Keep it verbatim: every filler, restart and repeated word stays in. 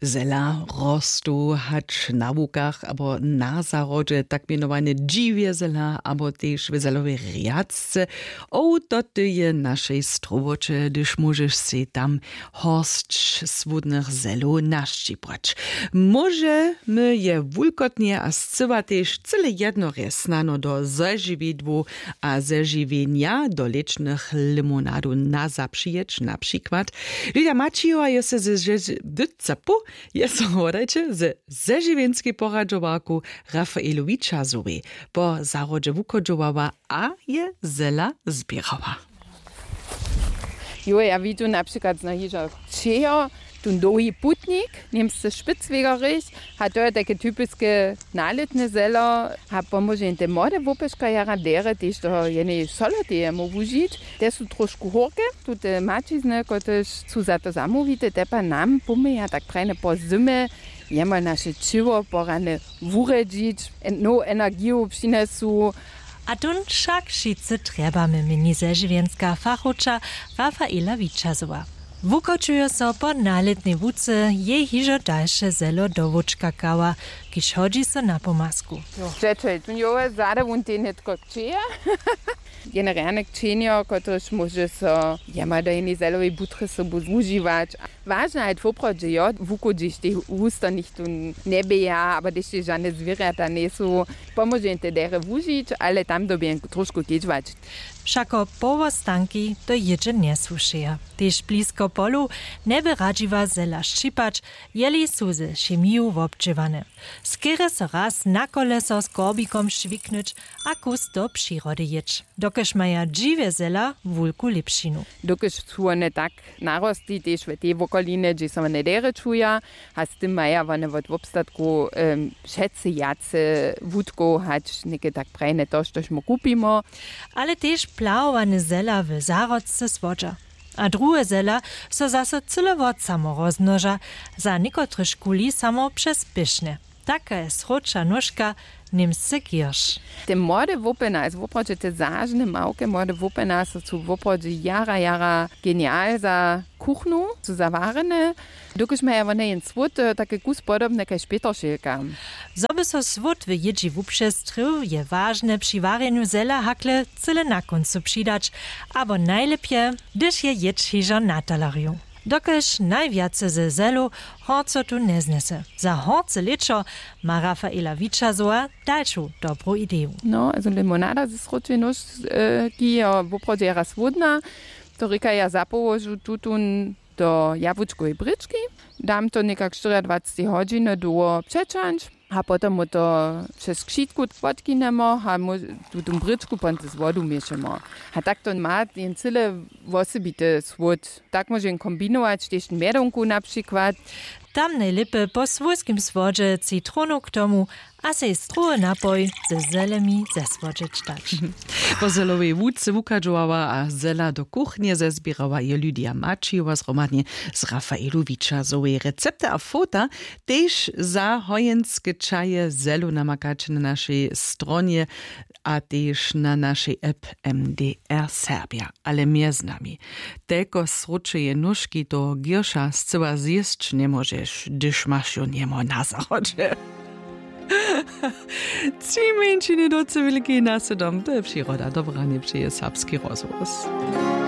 Zela rostu hač na łukach abo na zahrodźe, tak mjenowane dźiwje zela abo tež w zelowej rjadce. Ow to ty je našej strowoće, hdyž móžeš sej tam horsć słódnych zelow našćipłać. Móžemy je wulkotnje a scyła tež cyle jednorje snano do zežiwidłow a zežiwjenja do lěćnych limonadow na zapřijeć, na přikład Lydia Maćijowa je se ze žeždyca pół, je so wodajće ze zežiwjenskej poradźowarku Rafaelu Wičazowej po zahrodźe wuchodźowała a je zela zběrała. Jo, ja widźu na přikład znohižo čejo, tón dołhi putnik, němsce špicwegerich, a to je tajke typiske nalětne zelo. A pomóže jim te młode wopyška jara derje tež do jenej soloteje móhł wužić. Te su trošku hórke, tute maćizny, kotrež su za to zamołwite, te pa nam pomyja tak prajne po zymy jemol naše ćěło porane wurjedźić, en- nowu energiju přinesu. A tón wšak wšitcy trjebamy, měni zežiwjenska fachowča Rafaela Wičazowa. Wukočuje so po nalětnej łuce jej hižo dalše zelo do wóčka kawa, kiž hodźi so na pomasku. Přećel tón jowe zada wón tej nětko kćeje. Jen rjane kćenjo, kotrež móže so jema do jenej zelowej butry sobu wužiwać. Wažne hajt woprawdźe jo, wuku hdyž tej husto nichtó njeběja abo hdyž tej žane zwěrjata njejsu, pomóže jen te derje wužić, ale tam dyrbi jen trošku kedźwać. Wšako powostanki to jědźe njesłušeja. Tež blisko polow njeby radźiła zela šćipać, jeli su ze chemiju wobdźěłane. Skerje so raz na koleso z korbikom šwiknyć a kus do přirody jěć, dokelž maja dźiwje zela wulku lěpšinu. Dokelž su wone tak narosti tež w tej wokolinje, hdźež so wone derje čuja, a z tym maja wone wot wobstatku wšetcy wjace wutkow hač něke tak prajne to štož my kupimy. Ale tež plahowane zela w zahrodce słodźa, a druhe zela so zaso cyle wot samo rozmnoža, za někotrychkuli samo přez pěšne. Taka je sróča nóžka, němsce gierš. Te młode wopena je woprawdźe, te zažne małke młode wopena so su woprawdźe jara jara genial za kuchnu su zawarjene, dokelž maja wone jen słód, e, take kus podobne kaž pětršelka. Zo by so słód w jědźi wupřestrěł, je wažne při warjenju zela hakle cyle na kóncu přidać, abo najlěpje, hdyž je jědź hižo na talerju, dokelž najwjace ze zelow horcotu njeznjese. Za horce lěćo ma Rafaela Wičazowa dalšu dobru ideju. No, also limonada ze sróčej nóžki je woprawdźe jara słódna. To rěka, ja zapołožu tutón do jabłučkowej brěčki, dam to někak štyriadwacetej hodźiny dołho přećańć, a potom mu to přez křitku wotkinjemy a mu tutón brěčku ponce z wodu měšamy. A tak to ma jen cyle wosebity słód. Tak móže jen kombinować tež mjedonku na přikład. Tam nejlěpje po słójskim słodźe citronu k tomu a sej strowy napoj ze zelemi zesłodźeć dać. Po zelowej łuce wuchadźowała a zela do kuchnje zezběrała je Lydia Maćijowa zhromadnje z Rafaelu Wičazowej. Recepty a fota tež za hojenske čaje zelu namakaće na našej stronje a tež na našej app M D R Serbja. Ale mjez nami, telko sróčeje nóžki toho gierša scyła zjěsć njemóžeš, hdyž maš jo njemo na zahrodźe. Tři mjeńšiny do cywilki na sydom, to je přiroda. Dobre ranje přeje Serbski rozhłos.